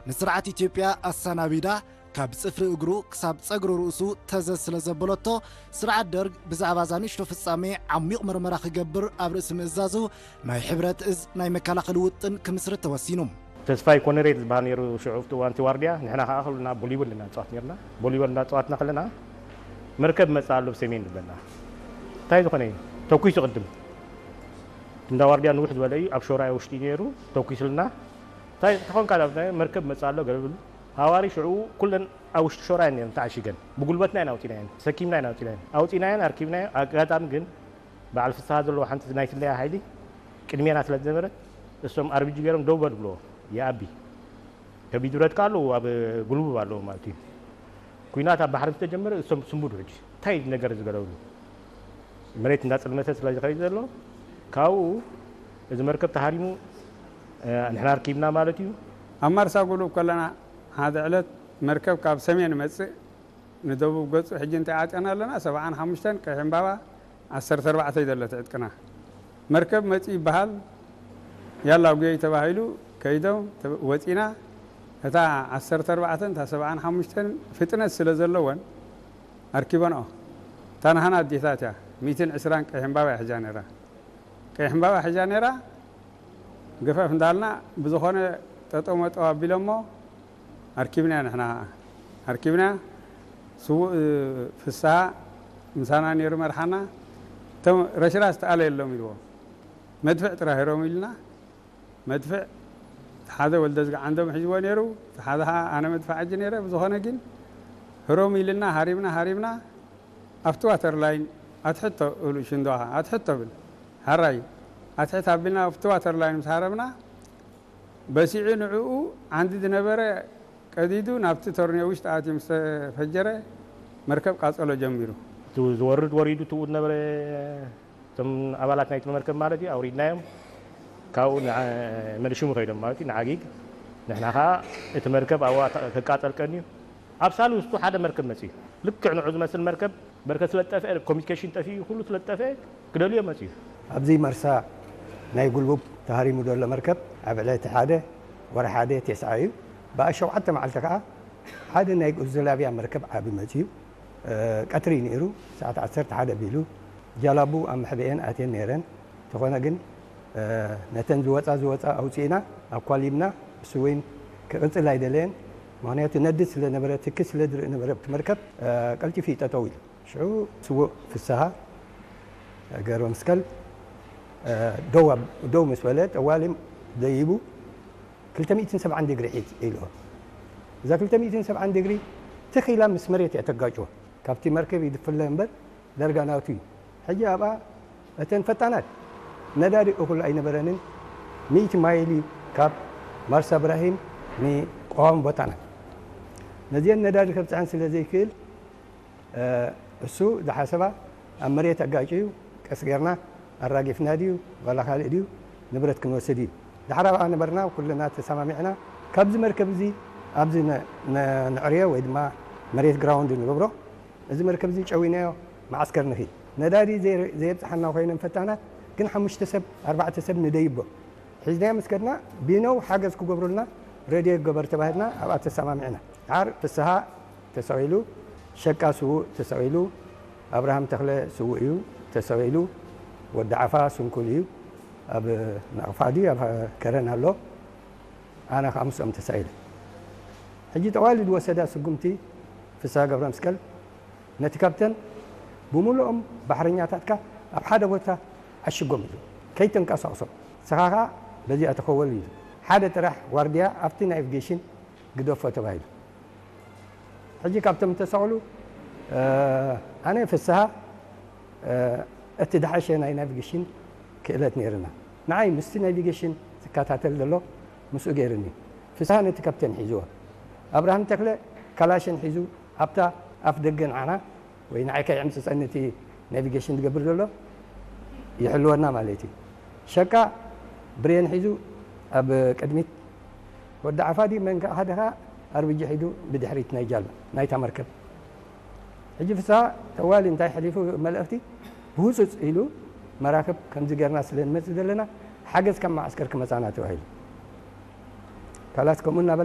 ንስርዓት ኢትዮጵያ ኣሰናቢዳ ካብ ጽፍሪ እግሩ ክሳብ ጸጉሪ ርእሱ ተዘዝ ስለ ዘበለቶ፣ ስርዓት ደርግ ብዛዕባ እዛ ንእሽቶ ፍጻሜ ዓሚቕ መርመራ ክገብር ኣብ ርእሲ ምእዛዙ፣ ናይ ሕብረት እዝ ናይ መከላኸሊ ውጥን ክምስርት ተወሲኑ። ተስፋይ ኮነሬት ዝበሃል ነይሩ ሽዑ ኣብቲ እዋን እቲ ዋርድያ። ንሕና ከኣ ከለና ቮሊቦል ኢና ንጻወት ነርና። ቮሊቦል እንዳጻወትና ከለና መርከብ መጻ ኣሎ ብሰሜን ዝበልና። እንታይ ዝኾነ እዩ? ተኩሱ ቅድም። እንዳ ዋርድያ ንውሕ ዝበለ እዩ፣ ኣብ ሾራይ ውሽጢ ነይሩ፣ ተኩስልና። እንታይ ተኾንካ? ናብ ናይ መርከብ መጻ ኣሎ ገለ ብሉ። ሃዋሪ ሽዑ ኩለን ኣብ ውሽጢ ሾራይ ነይረን ተዓሺገን። ብጉልበትና ኢና ኣውጺናየን፣ ሰኪምና ኢና ኣውጺናየን። ኣውጺናየን፣ ኣርኪብናዮ። ኣጋጣሚ ግን በዓል ፍስሃ ዘለዎ ሓንቲ ናይ ስለያ ሓይሊ ቅድሜና ስለ ዝነበረት፣ እሶም ኣርቢጂ ገይሮም ደው በል ብልዎ፣ ይኣቢ። ከቢድ ብረት ከኣ ኣለዎ፣ ኣብ ጉልቡብ ኣለዎ ማለት እዩ። ኲናት ኣብ ባሕሪ ዝተጀመረ እሶም ስንቡድ ሕጂ። እንታይ እዩ ነገር ዝገለብሉ? መሬት እንዳጸልመተ ስለ ዝኸይድ ዘሎ፣ ካብኡ እዚ መርከብ ተሃሪሙ፣ እ፣ ንሕና ኣርኪብና ማለት እዩ። ኣብ ማርሳ ጉልቡብ ከለና፣ ሓደ ዕለት መርከብ ካብ ሰሜን መጽእ፣ ንደቡብ ገጹ ሕጂ እንታይ ዓጢና ኣለና? ሰብዓን ሓሙሽተን ቀይሕ ዕምባባ ዓሰርተ ኣርባዕተ እዩ ዘሎ እቲ ዕጥቅና። መርከብ መጺኡ ይበሃል፣ ያላ ጉየይ ተባሂሉ ከይዶም፣ ተ-፣ ወጺና። እታ ዓሰርተ ኣርባዕተን እታ ሰብዓን ሓሙሽተን ፍጥነት ስለ ዘለወን ኣርኪበንኦ። እታ ናህና ኣዴታት እያ፣ ሚእትን ዕስራን ቀይሕ ዕምባባ እያ ሒዛ ነይራ። ቀይሕ ዕምባባ ሒዛ ነይራ። ገፈፍ እንዳልና ብዝኾነ ጠጠው መጠው ኣቢሎሞ ኣርኪብና ንሕና ኸዓ። ኣርኪብና ስዉእ ፍስሃ ምሳና ነይሩ መርሓና። እቶም ረሽራሽ ተኣለ የሎም ኢልዎ። መድፍዕ ጥራሕ ህሮም ኢልና። መድፍዕ ሓደ ወልደ ዝግዓንዶም ሒዝዎ ነይሩ። እቲ ሓደ ኸዓ ኣነ መድፍዕ ኣጂ ነይረ። ብዝኾነ ግን ህሮም ኢልና ሃሪብና ሃሪብና ኣብቲ ዋተር ላይን ኣትሕቶ እብሉ ሽንዶ ኸዓ ኣትሕቶ ብል። ሃራይ ኣትሕት ኣቢልና ኣብቲ ዋተር ላይን ምስ ሃረምና በሲዑ ንዕኡ ዓንዲ ዝነበረ ቀዲዱ ናብቲ ቶርኒዮ ውሽጢ ኣትዩ ምስ ተፈጀረ መርከብ ቃጸሎ ጀሚሩ። እቲ ዝወርድ ወሪዱ ትኡ ዝነበረ እቶም ኣባላት ናይቲ መርከብ ማለት እዩ ኣውሪድናዮም። ካብኡ ንዓ-፣ መልሽሙ ከይዶም ማለት እዩ ንዓጊግ። ንሕና ኸዓ እቲ መርከብ ኣብኡ ኣታ-፣ ክቃጸል ቀንዩ። ኣብ ሳልስቱ ሓደ መርከብ መጺኡ። ልክዕ ንዑ ዝመስል መርከብ በርከት ስለ ዝጠፍአ፣ ኮሚኒኬሽን ጠፊኡ፣ ኩሉ ስለ ዝጠፍአ ክደልዮ መጺኡ። ኣብዚ መርሳ ናይ ጉልቡብ ተሃሪሙ ዘሎ መርከብ ኣብ ዕለቲ ሓደ ወርሒ ሓደ ተስዓ እዩ። ብኣሸውዓተ መዓልቲ ከኣ ሓደ ናይ ዩጎዝላቪያ መርከብ ዓቢ መጺኡ። እ፣ ቀትሪ ነይሩ፣ ሰዓት ዓሰርተ ሓደ ኣቢሉ። ጃላቡ ኣብ መሕብኤን ኣትየን ነይረን። እንተኾነ ግን፣ እ፣ ነተን ዝወጻ ዝወጻ ኣውጺእና ኣኳሊብና። እሱ እውን ክቕጽል ኣይደለየን። ምኽንያቱ ነዲ ስለ ነበረ፣ ትኪ ስለ ዝርኢ ነበረ ኣብቲ መርከብ፣ እ፣ ቀልጢፉ እዩ ጠጠው ኢሉ። ሽዑ ስዉእ ፍስሃ ገብረመስቀል፣ እ፣ ደው ኣብ-፣ ደው ምስ በለ፣ ጠዋሊ ደይቡ ክልተ ሚእትን ሰብዓን ዲግሪ ሒዝ ኢልዎ። እዛ ክልተ ሚእትን ሰብዓን ዲግሪ ትኽ ኢላ ምስ መሬት እያ ተጋጭዎ። ካብቲ መርከብ ይድፍለ እምበር ዳርጋ ናቱ እዩ። ሕጂ ኣብኣ እተን ፈጣናት ነዳዲ እኹል ኣይነበረንን። ሚእቲ ማይል እዩ ካብ ማርሳ እብራሂም ንቀዋሚ ቦታና። ነዚአን ነዳዲ ከብጽሐን ስለ ዘይክእል፣ እ፣ እሱ ዝሓሰባ ኣብ መሬት ኣጋጭዩ፣ ቀስ ጌርና ኣራጊፍና ድዩ ዋላ ካልእ ድዩ ንብረት ክንወስድ እዩ። ድሓር ኣብኣ ነበርና፣ ኩልና ተሰማሚዕና፣ ካብዚ መርከብ እዚ ኣብዚ ነ-፣ ነ-፣ ነዕርዮ ወይ ድማ መሬት ግራውንድ ንገብሮ። እዚ መርከብ እዚ ጨዊናዮ መዓስከር ንኺድ። ነዳዲ ዘይ-፣ ዘየብጽሓና ኮይነን ፈታናት፣ ግን ሓሙሽተ ሰብ፣ ኣርባዕተ ሰብ ንደይቦ። ሒዝናዮ ምስ ከድና፣ ቢነው ሓገዝ ክገብሩልና ሬድዮ ይገበር ተባሂልና፣ ኣብኣ ተሰማሚዕና። ድሓር ፍስሃ ተሰቒሉ፣ ሸቃ ስዉእ ተሰቒሉ፣ ኣብርሃም ተኽለ ስዉእ እዩ ተሰቒሉ፣ ወዲ ዓፋ ስንኩል እዩ፣ ኣብ ናቕፋ ድዩ ኣብ ከረን ኣሎ፣ ኣነ ኸኣ ምስኦም ተሳኢለ። ሕጂ ጠዋሊ ዝወሰዳ ስጉምቲ ፍስሃ ገብረመስቀል ነቲ ካፕተን ብምሉኦም ባሕረኛታትካ ኣብ ሓደ ቦታ ዓሽጎም ኢሉ፣ ከይተንቀሳቕሶም፣ ንስኻ ኸኣ በዚኣ ተኸወል ኢሉ። ሓደ ጥራሕ ዋርድያ ኣብቲ ናቪጌሽን ግደፎ ተባሂሉ። ሕጂ ካብቶም እተሰቕሉ፣ እ፣ ኣነ ፍስሃ፣ እ፣ እቲ ዝሓሸ ናይ ናቪጌሽን ክእለት ነይርና። ንዓይ ምስቲ ናቪጌሽን ዝከታተል ዘሎ ምስኡ ገይርኒ። ፍስሃ ነቲ ካፕቴን ሒዝዎ። ኣብርሃም ተኽለ ካላሽን ሒዙ ኣብታ ኣፍ ደገ ንዓና ወይ ንዓይ ከይዕምጽጸኒ እቲ ናቪጌሽን ዝገብር ዘሎ ይሕልወና ማለት እዩ። ሸቃ ብሬን ሒዙ ኣብ ቅድሚት፣ ወዲ ዓፋዲ መን ከኣ ሓደ ከኣ ኣርቢጂ ሒዙ ብድሕሪት ናይ ጃልባ ናይታ መርከብ። ሕጂ ፍስሃ ተዋሊ እንታይ ሕሊፉ መልእኽቲ ብህጹጽ ኢሉ መራኽብ ከምዚ ጌርና ስለ ንመጽእ ዘለና ሓገዝ ካብ መዓስከር ክመጻና ተባሂሉ። ካላስ ከምኡ እናበለ